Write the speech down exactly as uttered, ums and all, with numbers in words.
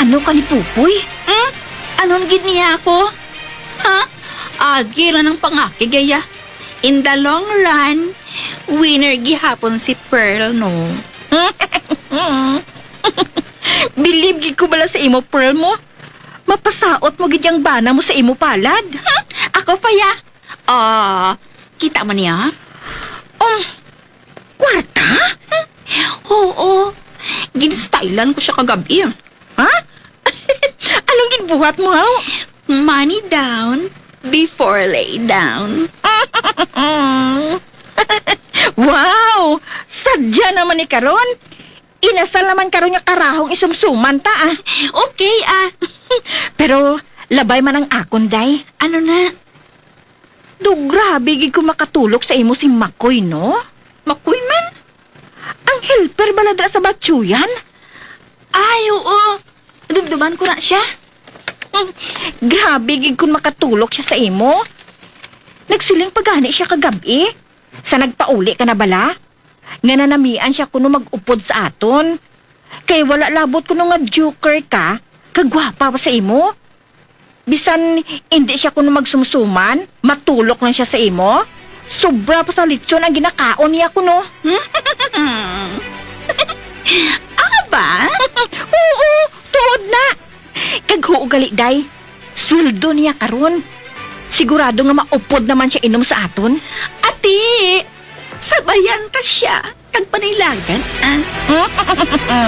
Ano ka ni Pupoy? Hmm? Anon gid niya ako? Ha? Agi ra ang pangakig, iya. In the long run, winner gihapon si Pearl, no? Believe gid ko bala sa imo, Pearl mo. Mapasaot mo gid ang bana mo sa imo palad. Ako pa, ya. Ah, kita mo niya? Um, kwarta? Oo. Ginstylan ko siya kagabi. Ha? Anong ginbuhat mo, haw? Money down before lay down. Wow! Sadya naman ni karon. Inasal naman karon nga karahong isumsuman ta, ah. Okay, ah. Pero labay man ang akon, day. Ano na? Do grabe gid ko makatulok sa imo si Makoy, no? Makoy man? Ang helper bala dira sa Batsuyan? Ay, oo. Dumduman ko na siya. Hmm, grabe gid kun makatulok siya sa imo. Nagsiling pa gani siya kagab-i. Sa nagpauli ka na bala? Nga nanamian siya kuno mag-upod sa aton. Kay wala labot kuno nga joker ka, kagwapa pa sa imo. Bisan indi siya kuno magsumsuman, matulok lang siya sa imo. Sobra pa sa lechon ang ginakaon niya kuno. Aba? Oo, tuod na. Kag huo gali, day. Sweldo niya karon. Sigurado nga maupod naman siya inom sa aton. Ati, sabayan ta siya kag panilagan, ah.